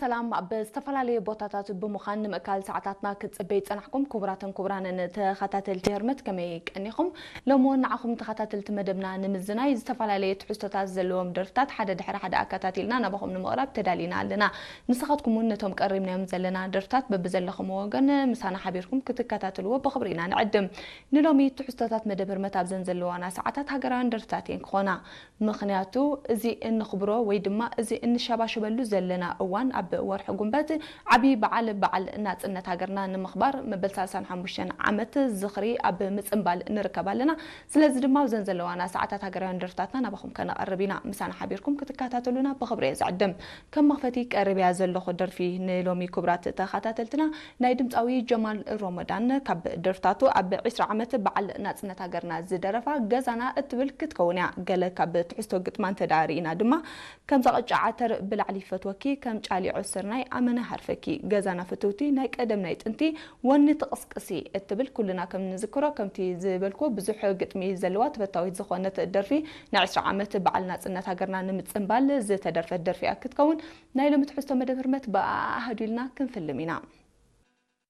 ሰላም፣ ኣብ ዝተፈላለየ ቦታታት ብምዃን ንምእካል ሰዓታትና ክትጽበይ ጸናሕኩም ክቡራትን ክቡራንን ተኸታተልቲ ህርመት፣ ከመይ ቀኒኹም? ሎሚ እውን ንዓኹም ተኸታተልቲ መደብና ንምዝናይ ዝተፈላለየ ትሕዝቶታት ዘለዎም ደርፍታት ሓደ ድሕሪ ሓደ ኣከታቲልና ናባኹም ንምቕራብ ተዳሊና ኣለና። ንስኻትኩም እውን ነቶም ቀሪብናዮም ዘለና ደርፍታት በብዘለኹም ወገን ምሳና ሓቢርኩም ክትከታተልዎ ብኽብሪ ኢና ንዕድም። ንሎሚ ትሕዝቶታት መደብ ህርመት ኣብዘን ዘለዋና ሰዓታት ሃገራውያን ደርፍታት እየን ክኾና። ምኽንያቱ እዚ እንኽብሮ ወይ ድማ እዚ እንሸባሸበሉ ዘለና እዋን ኣብ ወርሒ ጉንበት ዓብዪ በዓል፣ በዓል ናጽነት ሃገርና ንምኽባር መበል ሰላሳን ሓሙሽተን ዓመት ዝኽሪ ኣብ ምጽንባል ንርከብ ኣለና። ስለዚ ድማ ኣብዘን ዘለዋና ሰዓታት ሃገራውያን ደርፍታትና ናባኹም ከነቐርብ ኢና። ምሳና ሓቢርኩም ክትከታተሉና ብኽብሪ እየ ዝዕድም። ከም መኽፈቲ ቀሪበያ ዘለኹ ደርፊ ንሎሚ ክቡራት ተኸታተልትና ናይ ድምፃዊ ጀማል ሮመዳን ካብ ደርፍታቱ ኣብ ዕስራ ዓመት በዓል ናጽነት ሃገርና ዝደረፋ ገዛና እትብል ክትከውን እያ። ገለ ካብ ትሕዝቶ ግጥማ እንተደኣ ርኢና ድማ፣ ከምዛ ቅጫ ዓተር ብላዕሊ ይፈትወኪ፣ ከም ጫሊዖ ስርናይ ኣመና ሃርፈኪ፣ ገዛና ፍትውቲ ናይ ቀደም ናይ ጥንቲ፣ ወኒ ትቕስቅሲ እትብል ኩልና ከም ንዝክሮ ከምቲ ዝበልኩ ብዙሕ ግጥሚ ዘለዋ ተፈታዊት ዝኾነት ደርፊ ናይ ዕስራ ዓመት በዓል ናጽነት ሃገርና ንምጽንባል ዝተደርፈት ደርፊ እያ ክትከውን። ናይ ሎሚ ትሕዝቶ መደብ ህርመት ብኣሃዱ ኢልና ክንፍልም ኢና።